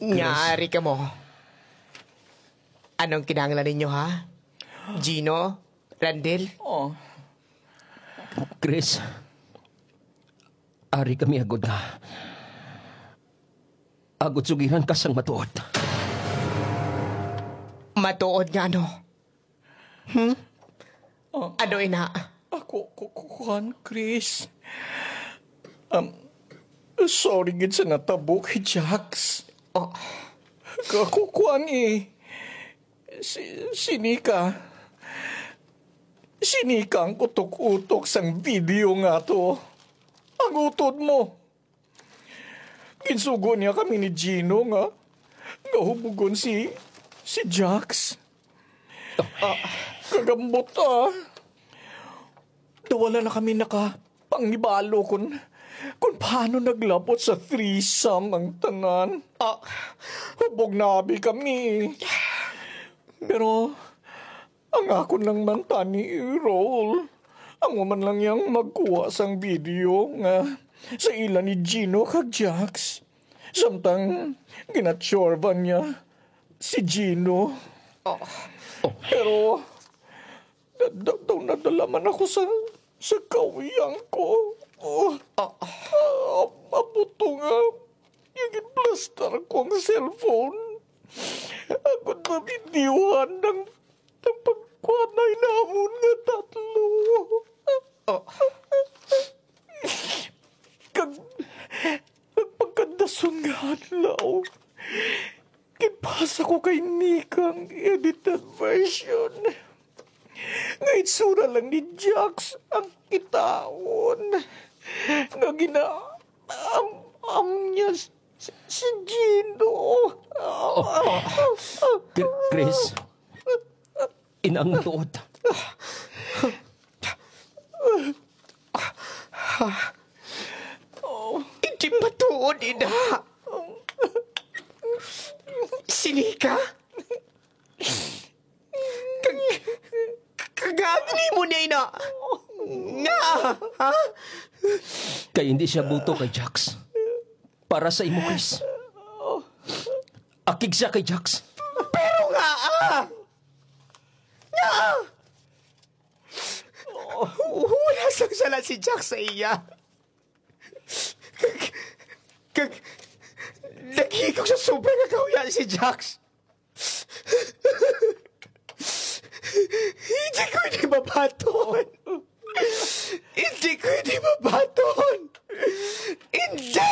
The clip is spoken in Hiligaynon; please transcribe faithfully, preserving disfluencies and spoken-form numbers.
Nya, Chris. Ari kamo. Anong kinahanglan ninyo, ha? Gino? Randel? Oh. Chris, ari kami agod nga. Agod sugiran ka sang matuod. Matuod nga ano? Hmm? Ah. Ano ina? Ako, ku-, ku-, kuwan, Chris. Um, sorry gid sa natabo kay Jax. Oh. Ka-, ku-, kuwan eh. Si, si Nika. Si Nika ang utok-utok sang video nga to. Ang utod mo. Ginsugo niya kami ni Gino nga, nga hubugon si, si Jax. Ah, kagambot, ah. Daw wala na kami nakapangibalo kun, kun paano naglabot sa threesome ang tanan. Ah. Hubog na abi kami. Pero, ang akon lang man tani i-roll, amo man lang yang magkuha sang video nga sa ila ni Gino kag Jax. Samtang ginatsorban niya si Gino. Oh. Pero da-, da-, daw nadala man ako sa, sa kauyang ko. Oh. Ah. Ah, mabuto nga, ginplastar ko ang cellphone. Ako na videohan ng Ang pagkuanay namon nga tatlo. Oh. Kag, kag pagkadason nga adlaw, ginpasa ko kay Nika ang edited version nga itsura lang ni Jax ang kitaon nga gina-, am-, am niya s-, s-, si Gino. Oh, oh. Chris, Inang matuod. Hindi matuod, ina. Sini ka? Kag, kagagli mo niya, ina. Nga, ha? Kay hindi siya buto kay Jax. Para sa imo, Chris. Akig siya kay Jax. Pero nga, ah! Nga! Wala sang sala si Jax sa iya. Kag, kag, naghikog sa sobra nga kahuya si Jax. Hindi ko ini mabaton. Hindi ko ini mabaton. Hindi!